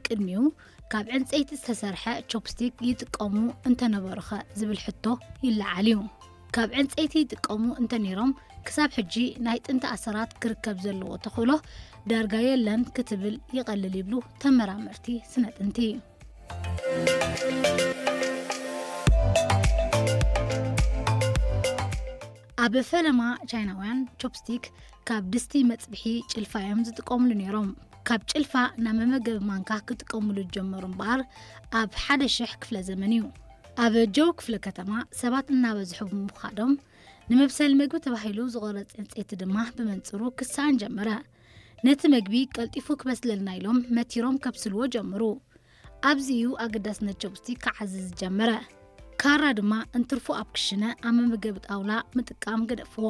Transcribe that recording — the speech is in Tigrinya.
ቅድሚኡ ካብ ዕንፀይቲ ዝተሰርሐ ቾፕስቲክ ይጥቀሙ እንተነበሩኸ ዝብል ሕቶ ይለዓል እዩ። ካብ ዕንፀይቲ ይጥቀሙ እንተነይሮም ክሳብ ሕጂ ናይ ጥንቲ ኣሰራት ክርከብ ዘለዎ ተኽእሎ ዳርጋ የለን ክትብል ይቐልል ይብሉ ተመራመርቲ ስነ ጥንቲ። ኣብ ፈለማ ቻይናውያን ቾፕስቲክ ካብ ድስቲ መፅብሒ ጭልፋ እዮም ዝጥቀምሉ ነይሮም። ካብ ጭልፋ ናብ መመገቢ ማንካ ክጥቀምሉ ዝጀመሩ እምበኣር ኣብ ሓደ ሽሕ ክፍለ ዘመን እዩ። ኣብ ጆው ክፍለ ከተማ ሰባት እናበዝሑ ብምዃዶም ንመብሰሊ ምግቢ ተባሂሉ ዝቆረፅ ዕንፀይቲ ድማ ብመንፅሩ ክሰኣን ጀመረ። ነቲ ምግቢ ቀልጢፉ ክበስለልና ኢሎም መቲሮም ከብስልዎ ጀመሩ። ኣብዚ እዩ ኣገዳስነት ቾፕስቲክ ክዓዝዝ ዝጀመረ። ካራ ድማ እንትርፎ ኣብ ክሽነ ኣብ መመገቢ ጣውላ ምጥቃም ገደፍዎ።